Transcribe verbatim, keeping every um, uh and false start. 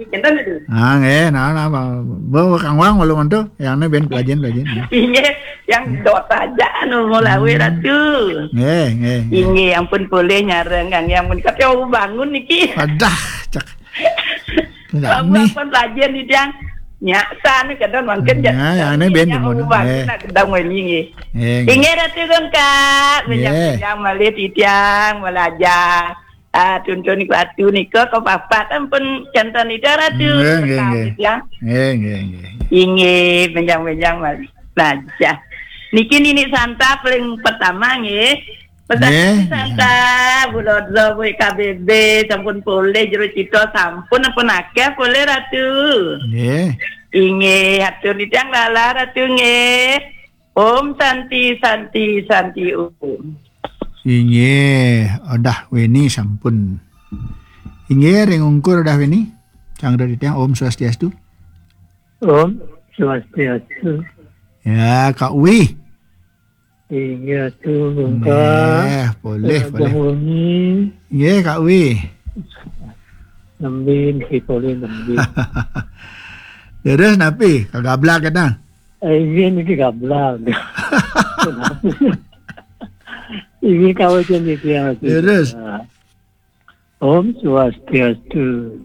Enten itu. Ah, nggih, nah, nah, Bang. Bo, Kang Wang, walau ngonto, yang ini ben pelajen, pelajen. Inggih, yang dot aja anu mau lawe Ratu. Nggih, nggih, nggih. Inggih, ampun boleh nyareng, Kang, yang pun kata bangun niki. Adah, cek. Enggak Kamu nih. Ampun pelajen nih, Tiang. Nyak, sana kadang mangkin. Ya, yang ini ben bangun. Nyak, bangun, eh. Nak kadang mau ini, nggih. Nggih, nggih. Inggih, Ratu Gengkak, nggih. Menyang-menyang malih titiang, malajar. Ah, tuntun niku Ratu nika kepapat ampun janten Ida Ratu. Nggih, nggih, nggih. Tetapi, ya. Nggih, nggih, nggih. Inggih, benjang-benjang malih. Nah, ya. Niki Nini Santa paling pertama, nggih. Pesan Nggih, Nini Santa, Bu Lodro, Bu K B B, sampun polih jero cita, sampun ampun akeh polih Ratu. Nggih. Inggih, atur nitiang lala Ratu, nggih. Om Santi, Santi, Santi Om. Inggih, Odah Weni sampun. Inggih, ring ungkur Odah Weni. Sang dari tiang, Om Swastiastu. Om Swastiastu. Ya, Kak Wi. Inggih, Ratu Gengkak. Nggih, polih, Raja polih. Wengi. Inggih, Kak Wi. Nembin, si polih nembin. Terus napi? Kagablag kita. Eh, inggih niki gablag. Inggih kawitan niki ya, Mas. Terus? Om Swastiastu.